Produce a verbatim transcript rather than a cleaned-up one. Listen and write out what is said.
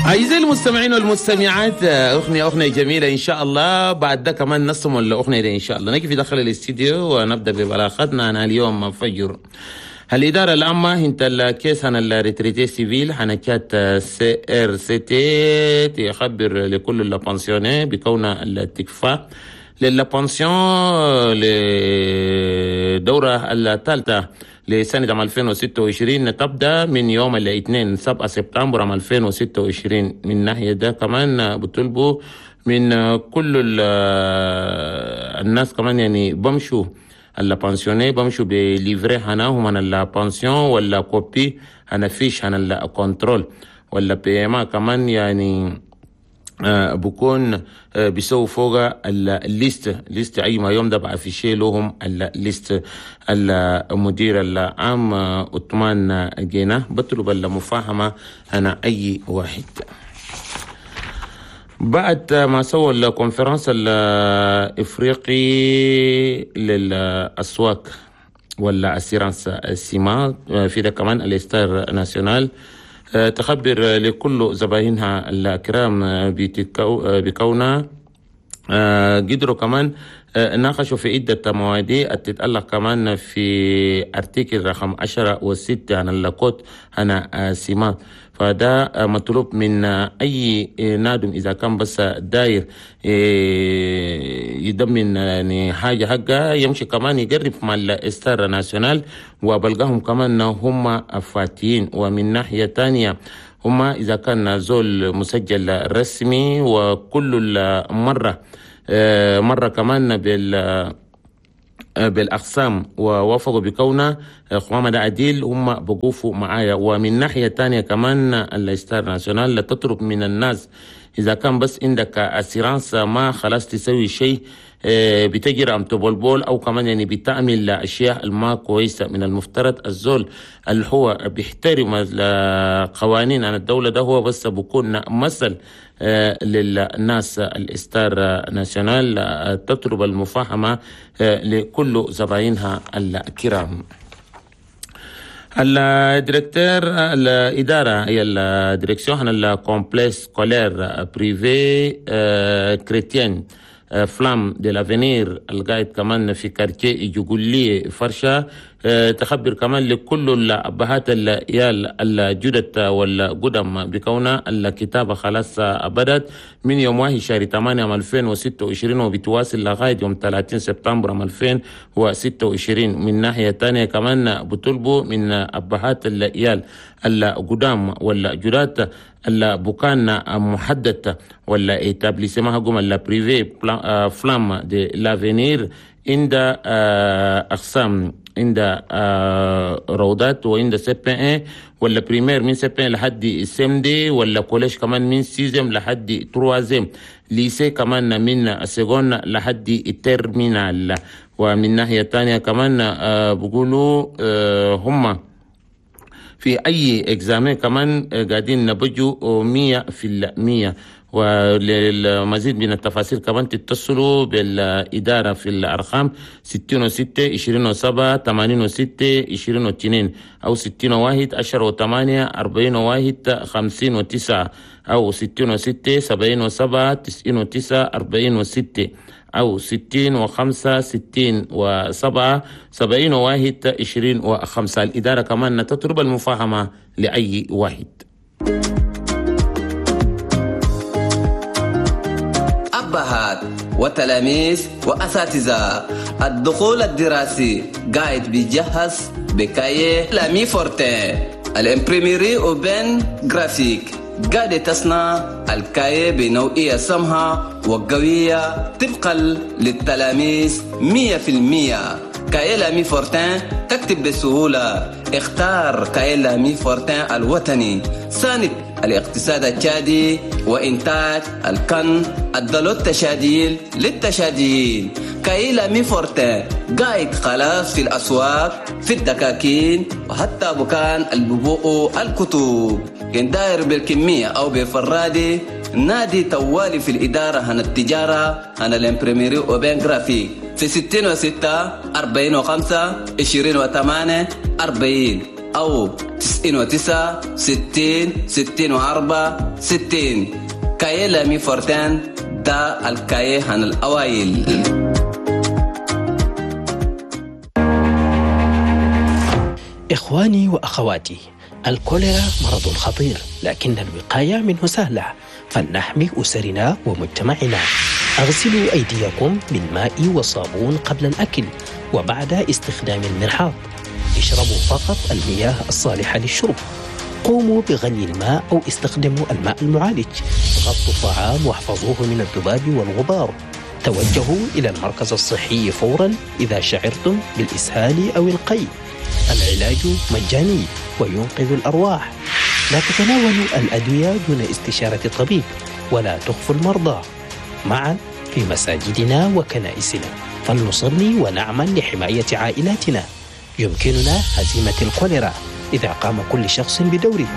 أعزائي المستمعين والمستمعات، أغنية أغنية جميلة إن شاء الله. بعد ده كمان نسمع الأغنية دي إن شاء الله. نجي في داخل الاستديو ونبدأ ببلاغتنا عن اليوم فجر. الإدارة العامة هنت ال caisse هنا ال retraités civils هنا تشاد C R C T تخبر لكل ال pensionnés بكون التكفى لل pension لدورة الثالثة لسنة عام ألفين وستة وعشرين تبدأ من يوم الاثنين سبعة سبتمبر عام ألفين وستة وعشرين. من ناحية ده كمان بطلبوا من كل الناس كمان يعني بمشوا ال pensionnés بمشوا ب livret هناهم هنا ال pension ولا copie هنا fiche هنا ال contrôle ولا paiement كمان يعني آه بكون آه بيسووا فوق ال liste liste اي ما يوم ده بقى في شيء لهم ال liste. المدير العام عثمان جينا بطلب المفاهمة هنا اي واحد. بعد ما سووا ال conférence الافريقي للاسواق ولا assurance سيما في ده كمان ال Star National تخبر لكل زباينها الكرام بكونها قدروا كمان ناقشوا في عدة مواضيع تتعلق كمان في article رقم عشرة وستة عن ال code هنا سيما. فده مطلوب من أي نادم إذا كان بس داير يضمن يعني حاجة حقها يمشي كمان يقرب مع ال Star National وبلقاهم كمان هم فاتين. ومن ناحية تانية هم إذا كان زول مسجل رسمي وكل مرة مرة كمان بال بالأقسام ووافقوا بكونه قوامة ده عديل هم بقوفوا معايا. ومن ناحية تانية كمان ال Star National تطلب من الناس إذا كان بس عندك assurance ما خلاص تسوي شيء بتجري أم تبولبول أو كمان يعني بتعمل أشياء ما كويسة. من المفترض الزول اللي هو بيحترم القوانين عن الدولة ده هو بس بكون مثل للناس. ال Star National تطلب المفاهمة لكل زباينها الكرام. ال directeur الإدارة هي ال direction ال complexe scolaire privé chrétien Flamme de l'avenir القاعد كمان في quartier جوجولي فرشة تخبر كمان لكل الأبهات العيال الجدد والقدم بكون الكتابة خلاص بدأت من يوم واحد شهر ثمانية عام ألفين وستة وعشرين وبتواصل لغاية يوم ثلاثين سبتمبر عام ألفين وستة وعشرين. من ناحية تانية كمان بطلبوا من أبهات العيال القدام والجداد البكان محدد ولا établissement حقهم ال privé Flamme de l'avenir عند اقسام عند روضات وعند C P un ولا primaire من C P un لحد C M deux ولا collège كمان من sixième لحد troisième، lycée كمان من seconde لحد terminale. ومن ناحية تانية كمان بيقولوا هم في أي examen كمان قاعدين نبجوا مية في المية. وللمزيد من التفاصيل كمان تتصلوا بالإدارة في الأرقام ستين وستة عشرين وسبعة ثمانين وستة عشرين واثنين أو ستين وواحد عشرة وثمانية أربعين وواحد خمسين وتسعة أو ستين وستة سبعين وسبعة تسعين وتسعة أربعين وستة أو ستين وخمسة ستين وسبعة سبعين وواحد عشرين وخمسة. الإدارة كمان تطلب المفاهمة لأي واحد. أبهات وتلاميذ وأساتذة، الدخول الدراسي قاعد بيجهز ب cahier L'Ami Fortin. ال imprimerie Aubaine Graphique قاعدة تصنع ال cahier بنوعية سمحة وقوية طبقا للتلاميذ مية في المية. cahier L'Ami Fortin تكتب بسهولة. اختار cahier L'Ami Fortin الوطني، ساند الاقتصاد التشادي وإنتاج الكن الدلو التشاديل للتشاديين. cahier L'Ami Fortin قاعد خلاص في الأسواق، في الدكاكين، وحتى بكان الببوء الكتب. كان داير بالكمية أو بفرادي نادي توالي في الإدارة هنا التجارة هنا ال imprimerie Aubaine Graphique في ستين وستة أربعين وخمسة عشرين وثمانية أربعين. أو تسعين وتسعة ستين ستين وأربعة ستين. cahier L'Ami Fortin ده ال cahier هنا الأوائل. إخواني وأخواتي، الكوليرا مرض خطير، لكن الوقاية منه سهلة، فلنحمي أسرنا ومجتمعنا. اغسلوا أيديكم بالماء والصابون قبل الأكل وبعد استخدام المرحاض. اشربوا فقط المياه الصالحة للشرب. قوموا بغلي الماء أو استخدموا الماء المعالج. غطوا الطعام واحفظوه من الذباب والغبار. توجهوا إلى المركز الصحي فورا إذا شعرتم بالإسهال أو القيء. العلاج مجاني وينقذ الأرواح. لا تتناولوا الأدوية دون استشارة الطبيب، ولا تخفوا المرضى. معا في مساجدنا وكنائسنا فلنصلي ونعمل لحماية عائلاتنا. يمكننا هزيمة الكوليرا إذا قام كل شخص بدوره.